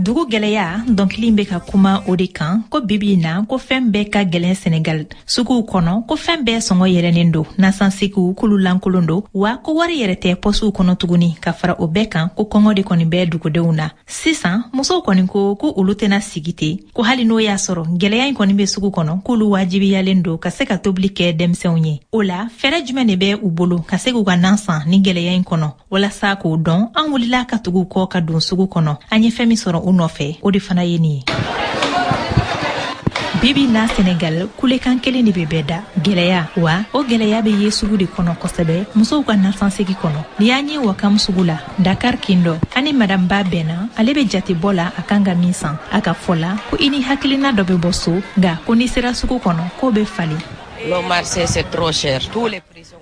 Dugu gɛlɛya dɔnkili bɛ ka kuma o de kan ko bibi na ko fɛn bɛɛ ka gɛlɛn Senegal suguw kɔnɔ, ko fɛn bɛɛ sɔngɔ yɛlɛnnen don, nasansegiw k'olu lankolon don, wa ko wari yɛrɛ tɛ pɔsiw kɔnɔ tuguni. Ka fara o bɛɛ kan, ko kɔngɔ de kɔni bɛ dugudenw na sisan. Musow kɔni ko ko olu tɛna sigi ten, ko hali n'o y'a sɔrɔ gwɛlɛya in kɔni bɛ sugu kɔnɔ, k'olu wajibiyalen don ka se ka tobili kɛ denmisɛnw ye. O la, fɛɛrɛ jumɛn de bɛ u bolo ka se k'u ka nan san ni gwɛlɛya in kɔnɔ? Walasa k'o dɔn, an wulila ka tugu kɔ ka don sugu kɔnɔ. An ye fɛn min sɔrɔ u nɔfɛ, o de fana ye nin ye. Bibi na Senegal, kulekan kelen de bɛ bɛɛ da: gɛlɛya. Wa o gɛlɛya bɛ ye sugu de kɔnɔ kosɛbɛ, musow ka nasansegi kɔnɔ. Ni y'an ye Wakam sugu la, Dakar kin dɔ, ani Madame Ba bɛnna. Ale bɛ jatebɔ la a kan ka min san. A ka fɔ la ko i ni hakilina dɔ bɛ bɔ so, nka ko n'i sera sugu kɔnɔ, k'o bɛ falen.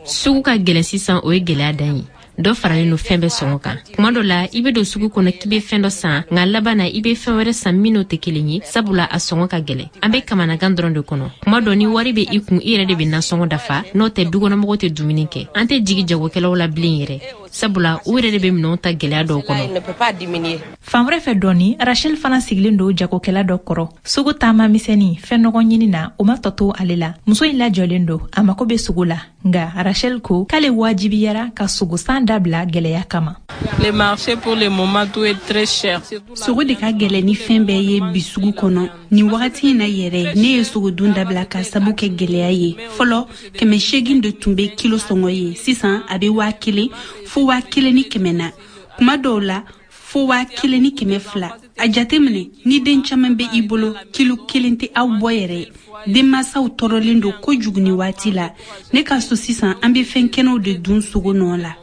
Sugu ka gɛlɛn sisan, o ye gɛlɛya dan ye. Dɔ faralen no fɛn bɛɛ sɔngɔ kan. Kuma dɔ la, i be don sugu kɔnɔ k'i be fɛn dɔ san, nka laban na, i be fɛn wɛrɛ san min n'o tɛ kelen ye, sabula a sɔngɔ ka gɛlɛn. An be kamanagan dɔrɔn de kɔnɔ. Kuma dɔ, ni wari be i kun, i yɛrɛ de be nasɔngɔ dafa, n'o tɛ dukɔnɔmɔgɔw tɛ dumuni kɛ. An tɛ jigi jagokɛlaw la bilen yɛrɛ, sabula u yɛrɛ de be minɛnw ta gwɛlɛya dɔw kɔnɔ. Fan wɛrɛ fɛ dɔɔni, Rachel fana sigilen don jagokɛla dɔ kɔrɔ. Sugu taama misɛnni fɛn nɔgɔ ɲini na, o ma tɔ to ale la. Muso in lajɔlen don, a mako bɛ sogo la, nka Rachel ko k'ale wajibiyara ka sogosan dabila gɛlɛya kama. Le marché, pour le moment, tout est très cher. Sogo de ka gɛlɛn ni fɛn bɛɛ ye bi sugu kɔnɔ nin wagati in na yɛrɛ. Ne ye sogo dun dabila ka sabu kɛ gɛlɛya ye. Fɔlɔ, 800 de tun bɛ kilo sɔngɔ ye, sisan a bɛ 1000 fo 1100 na, kuma dɔw la fo 1200. A jateminɛ, ni den caman bɛ i bolo, kilo kelen tɛ aw bɔ yɛrɛ. Denmansaw tɔɔrɔlen don kojugu ni waati la. Ne ka so sisan, an bɛ fɛn kɛnɛw de dun sogo nɔ la.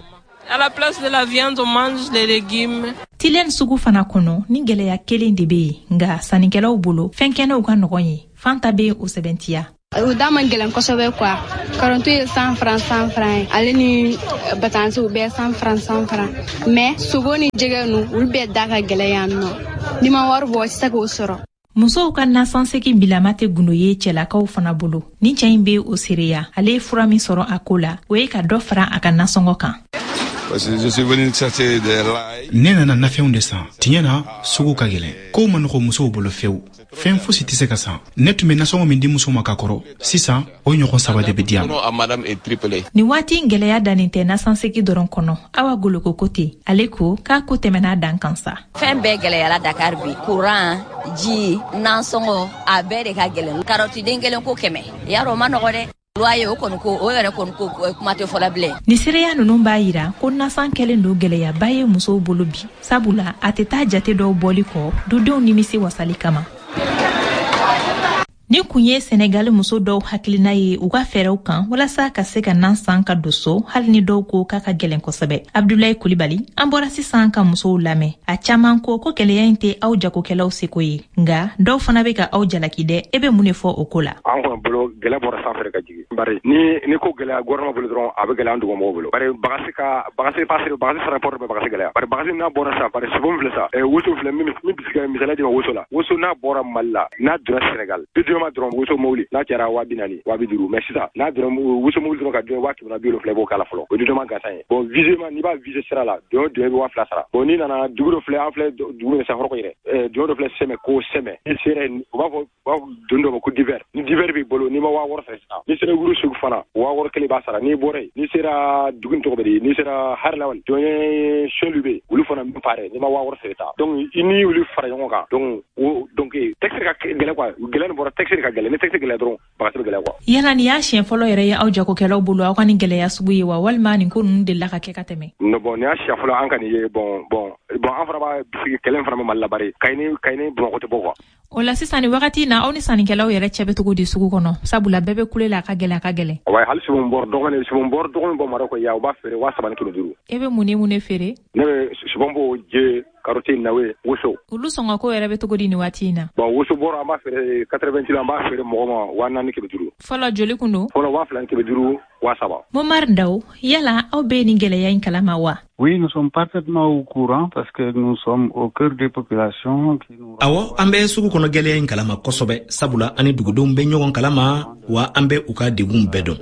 À la place de la viande, on mange les légumes. Tilène sugu fana kɔnɔ, ni gɛlɛya kelen de bɛ yen, nka sannikɛlaw bolo, fɛn kɛnɛw ka nɔgɔn ye. Fanta bɛ o sɛbɛntiya. O da man gɛlɛn kosɛbɛ quoi. Karɔti ye 100 francs 100 francs ye, ale ni batansi, u bɛɛ 100 francs 100 francs, mais sogo ni jɛgɛ nu, olu bɛɛ da ka gɛlɛn yan nɔ. N'i ma wari bɔ, i tɛ se k'o sɔrɔ. Musow ka nasansegi bilama tɛ gundo ye cɛlakaw fana bolo. Ni cɛ in bɛ o seereya. Ale ye fura min sɔrɔ a ko la, o ye ka dɔ fara a ka nasɔngɔ kan. Ne nana nafɛnw de san. Tiɲɛ na, sugu ka gɛlɛn, kow ma nɔgɔ musow bolo fewu, fɛn fosi tɛ se ka san. Ne tun bɛ nasɔngɔ min di muso ma ka kɔrɔ, sisan o ɲɔgɔn saba de bɛ di yan. Nin waati in, gɛlɛya dannen tɛ nasansegi dɔrɔn kɔnɔ. Awa Goloko ko ten. Ale ko k'a ko tɛmɛna dan kan sa. Fɛn bɛɛ gɛlɛyara Dakar bi: kuran, ji, nansɔngɔ, a bɛɛ de ka gɛlɛn. Karɔti den kelen ko 100, yarɔ, o ma nɔgɔ dɛ. Loyer, o kɔni ko, o yɛrɛ kɔni ko, kuma tɛ fɔla bilen. Ni seereya ninnu b'a yira ko nasan kɛlen don gɛlɛyaba ye musow bolo bi, sabula a tɛ taa jate dɔw bɔli kɔ dudenw nimisi wasali kama. Nin kun ye Sɛnɛgali muso dɔw hakilina ye u ka fɛɛrɛw kan walasa ka se ka nan san ka don so, hali ni dɔw ko k'a ka gɛlɛn kosɛbɛ. Abdulayi Kulibali, an bɔra sisan ka musow lamɛn. A caaman ko ko gɛlɛya in tɛ aw jagokɛlaw seko ye, nga dɔw fana bɛ ka aw jalaki dɛ. E bɛ mun de fɔ o ko la? An kɔni bolo, gɛlɛ bɔra sanfɛ ka jigin, bari ni ko gɛlɛya gouvernement bolo dɔrɔn, a bɛ gɛlɛya an dugumɔgɔw bolo, bari bagasi ka bagasi passer, bagasi transport bɛ bagasi gɛlɛya, bari bagasi n'a bɔra sa, bari sogo filɛ sa, woso filɛ, min bɛ se ka misaliya di ma woso la. Woso n'a bɔra Mali la, n'a donna Sénégal, dédouanement dɔrɔn, woso mobili n'a cayara 40 000, 250 000. Mais sisan, n'a donna woso mobili dɔrɔn ka dun 170 000, i b'o k'a la fɔlɔ, o dédouanement gansan ye. Bon, visement, n'i b'a viser sira la, don o don, i bɛ 2000 sara. Bon, n'i nana dugu dɔ filɛ, an filɛ dugu min sa hɔrɔn yɛrɛ, don dɔ filɛ Sɛmɛ, ko Sɛmɛ, n'i sera yen, u b'a fɔ don dɔ ma ko divers. Ni divers b'i bolo, n'i ma 6000 sara sisan, n'i sera wuru sugu fana, 6000 kelen b'a sara. N'i bɔra yen, n'i sera dugu in tɔgɔ bɛ di, n'i sera Harilawali, don ye Saint-Louis bɛ yen, olu fana min pare, n'i ma 6000 sara ta. Donc i ni olu fara ɲɔgɔn kan, donc o donc taxe ka gɛlɛn quoi. Gɛlɛya nin bɔra taxe ka gɛlɛn. Ni taxe gɛlɛya dɔrɔn, bagasi bɛ gɛlɛya quoi. Yala nin y'a siɲɛ fɔlɔ yɛrɛ ye aw jagokɛlaw bolo aw ka nin gɛlɛya sugu ye wa, walima nin ko ninnu delila ka kɛ ka tɛmɛ? Non, bon, nin y'a siɲɛ fɔlɔ an ka nin ye. Bon, an fana b'a bisigi, kɛlɛ in fana bɛ Mali la, bari Kayi ni Bamakɔ tɛ bɔ quoi. O la sisan, ni wagati na, aw ni sannikɛlaw yɛrɛ cɛ bɛ cogo di sugu kɔnɔ? Sabula bɛɛ bɛ kule la, a ka gɛlɛn, a ka gɛlɛn. Wa hali sibon bɔrɔ dɔgɔnin, sibon bɔrɔ dɔgɔnin bɔ Marɔkɔ yan, u b'a feere 3500. E bɛ mun ni mun de feere? Ne bɛ sibon bo, je, karɔti, nawe, woso. Olu sɔngɔko yɛrɛ bɛ cogo di nin waati in na? Bon, woso bɔrɔ, an b'a feere 80 kilo, an b'a feere mɔgɔ ma 4500. Fɔlɔ joli kun don? Fɔlɔ 2500, 3000. Momar Ndaw, yala aw bɛ nin gɛlɛya in kalama wa? Oui, nous sommes parfaitement au courant parce que nous sommes au cœur des populations qui nous. Awɔ, an bɛ sugu kɔnɔ gɛlɛya in kalama kosɛbɛ, sabula an ni dugudenw bɛ ɲɔgɔn kalama, wa an bɛ u ka degun bɛɛ dɔn.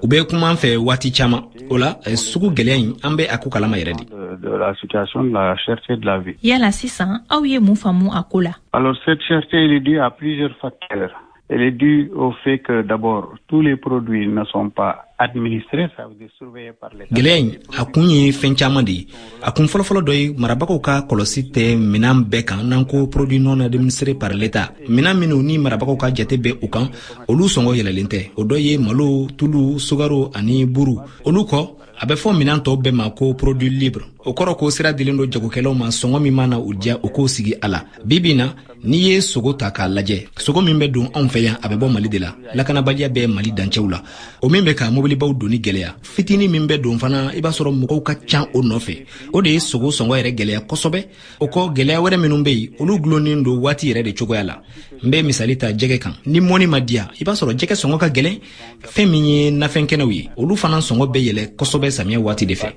U bɛ kuma an fɛ waati caman. O la, sugu gɛlɛya in, an bɛ a ko kalama yɛrɛ de. De la situation de la cherté de la vie. Yala sisan, aw ye mun faamu a ko la? Alors cette cherté, elle est due à plusieurs facteurs. Elle est due au fait que d'abord, tous les produits ne sont pas administrés, ça veut dire surveillés par l'État. Gɛlɛya in, a kun ye fɛn caman de ye. A kun fɔlɔfɔlɔ dɔ ye, marabagaw ka kɔlɔsi tɛ minan bɛɛ kan, n'an ko produit non administré par l'État. Minan minnu ni marabagaw ka jate bɛ u kan, olu sɔngɔ yɛlɛlen tɛ. O dɔ ye malo, tulu, sukaro ani buru. Olu kɔ, a bɛ fɔ minan tɔw bɛɛ ma ko produit libre. O kɔrɔ ko sira dilen don jagokɛlaw ma, sɔngɔ min mana u diya, u k'o sigi a la. Bi bi na, n'i ye sogo ta k'a lajɛ, sogo min bɛ don anw fɛ yan, a bɛ bɔ Mali de la. Lakanabaliya bɛ Mali dancɛw la, o min bɛ ka mobilibaw donni gɛlɛya. Fitinin min bɛ don fana, i b'a sɔrɔ mɔgɔw ka ca o nɔfɛ. O de ye sogo sɔngɔ yɛrɛ gɛlɛya kosɛbɛ. O kɔ, gɛlɛya wɛrɛ minnu bɛ yen, olu gulonnen don waati yɛrɛ de cogoya la. N bɛ misali ta jɛgɛ kan. Ni mɔni ma diya, i b'a sɔrɔ jɛgɛ sɔngɔ ka gɛlɛn. Fɛn min ye nafɛn kɛnɛw ye, olu fana sɔngɔ bɛ yɛlɛ kosɛbɛ samiya waati de fɛ.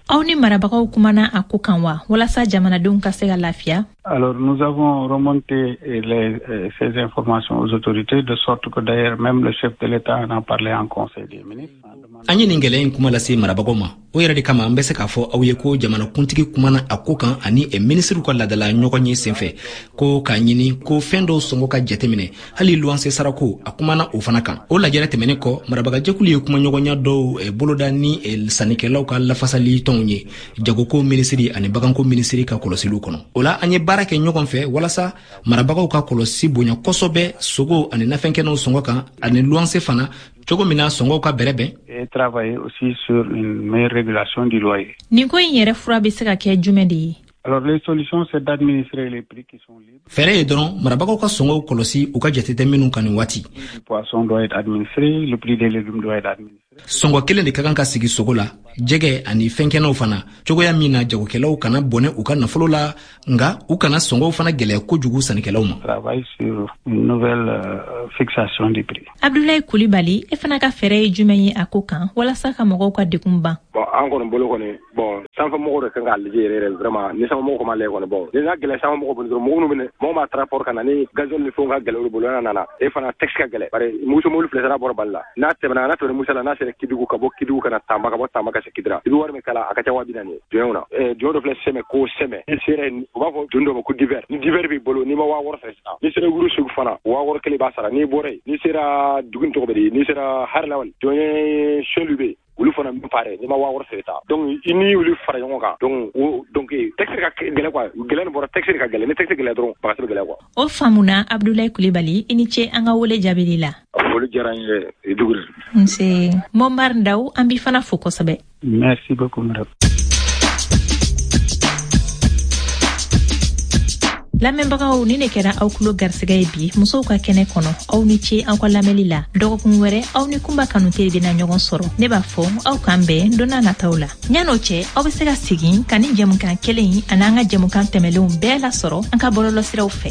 Aw ni marabagaw kumana a ko kan wa, walasa jamanadenw ka se ka lafiya? Alors nous avons remonté ces informations aux autorités, de sorte que d'ailleurs même le chef de l'État en a parlé en conseil des ministres. An ye nin gɛlɛya in kuma lase marabagaw ma. O yɛrɛ de kama, an bɛ se k'a fɔ aw ye ko jamanakuntigi kumana a ko kan ani minisiriw ka ladala ɲɔgɔn ye senfɛ, ko k'a ɲini ko fɛn dɔw sɔngɔ ka jateminɛ, hali luwanse sarako, a kumana o fana kan. O lajɛrɛ tɛmɛnen kɔ, marabagajɛkulu ye kumaɲɔgɔnya dɔw boloda ni sannikɛlaw ka lafasali tɔnw ye, jagoko minisiri ani baganko minisiri ka kɔlɔsiliw kɔnɔ. O la, an ye baara kɛ ɲɔgɔn fɛ walasa marabagaw ka kɔlɔsi bonya kosɛbɛ sogo ani nafɛnkɛnɛw sɔngɔ kan, ani luwanse fana, cogo min na sɔngɔw ka bɛrɛbɛn. Et travailler aussi sur une meilleure régulation du loyer. Nin ko in yɛrɛ fura bɛ se ka kɛ jumɛn de ye? Alors les solutions, c'est d'administrer les prix qui sont libres. Fɛɛrɛ ye dɔrɔn marabagaw ka sɔngɔw kɔlɔsi, u ka jate tɛ minnu kan nin waati. Le poisson doit être administré, le prix des légumes doit être administré. Sɔngɔ kelen de ka kan ka sigi sogo la, jɛgɛ ani fɛnkɛnɛw fana, cogoya min na jagokɛlaw kana bɔnɛ u ka nafolo la, nka u kana sɔngɔw fana gɛlɛya kojugu sannikɛlaw ma. Travaille sur une nouvelle fixation des prix. Abdoulaye Coulibaly, e fana ka fɛɛrɛ ye jumɛn ye a ko kan walasa ka mɔgɔw ka degun ban? Bon, an kɔni bolo kɔni, bon, sanfɛmɔgɔw de kan k'a lajɛ yɛrɛ yɛrɛ vraiment. Ni sanfɛmɔgɔw kɔni m'a lajɛ kɔni, bon, ni n'a gɛlɛya sanfɛmɔgɔw bolo dɔrɔn, mɔgɔ minnu bɛ mɔgɔ ma transport ka na ni gasoil ni fɛnw ka gɛlɛn olu bolo, n'a nana e fana taxe ka gɛlɛn, bari muso mobili filɛ sira bɔra Bali la, n'a tɛmɛna, n'a tɛmɛna Musa la, n'a sera Kidugu, ka bɔ Kidugu ka na Tamba, ka bɔ Tamba ka se Kidira, i bɛ wari min kala, a ka ca 40 000 ye jɔnw na. Jɔn dɔ filɛ Sɛmɛ, ko Sɛmɛ, n'i sera, u b'a fɔ doni dɔ ma ko divers. Ni divers b'i bolo, n'i ma 6000 sara sisan, n'i sera Wuro Segu fana, 6000 i b'a sara. N'i bɔra yen, n'i sera dugu in tɔgɔ bɛ di, n'i sera Harilawali, jɔn ye Selu bɛ yen, olu fana bɛ pare, n'i ma 6000 sara ta. Donc i ni olu fara ɲɔgɔn kan, donc o donc taxe ka gɛlɛn quoi. Gɛlɛya nin bɔra taxe ka gɛlɛn. Ni taxe gɛlɛya dɔrɔn, bagasi bɛ gɛlɛya quoi. O faamuna. Abdoulaye Coulibaly, i ni ce an ka wele jaabili la. Foli diyara n ye, Duguri. Nse. Momar Ndaw, an b'i fana fo kosɛbɛ. Merci beaucoup, madame. Lamɛnbagaw, ni ne kɛra aw kulo garisɛgɛ ye bi musow ka kɛnɛ kɔnɔ. Aw ni ce aw ka lamɛnli la. Dɔgɔkun wɛrɛ, aw ni Kunba Kanute bɛna ɲɔgɔn sɔrɔ. Ne b'a fɔ aw k'an bɛn don n'a nataw la. Ɲan'o cɛ, aw be se ka segin ka ni jɛmukan kelen in ani an ka jɛmukan tɛmɛlenw bɛɛ lasɔrɔ an ka bɔlɔlɔsiraw fɛ.